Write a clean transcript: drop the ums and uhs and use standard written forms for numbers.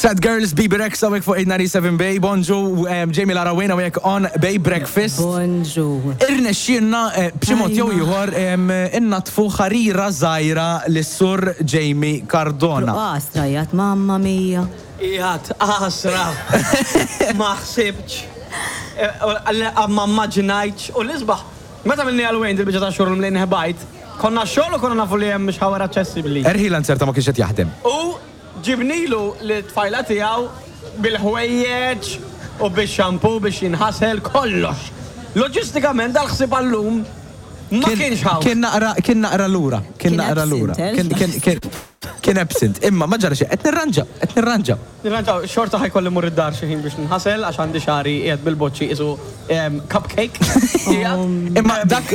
Sad Girls, Bebe Rexha hawnhekk fuq 897 Bay, bonġu, Jamie Lara Wayne hawnhekk on Bay Breakfast. Bonġu. Irnexxielna b'xi mod jew ieħor innaddfu ħarira żgħira lis-Sur Jamie Cardona. Qas trajjat, mamma mia. Qiegħed għasra. Ma ħsibtx. Ma mmaġinajtx. U l-isbaħ, meta għamilniha għal Wayne dil-biċċa ta' xogħol mlejn ħbajt, konna x-xogħol u konna nafu li hemm shower aċċessibbli. Erħila nzerta ma kienx qed jaħdem. U ġibnilu lit-tfajla tiegħu bil-ħwejjeġ u bix-shampoo biex jinħasel, kollox. Loġistikament dal-ħsieb għal-lum ma kienx hawn. Kien naqra, kien naqra lura, kien naqra lura. Kien absent. Kien absent, imma ma ġara xejn, qed nirranġa, qed nirranġa. Nirranġa, xorta ħa jkolli mmur id-dar xi ħin biex ninħasel għax għandi xagħri qiegħed bil-boċċi qisu cupcake. Imma dak.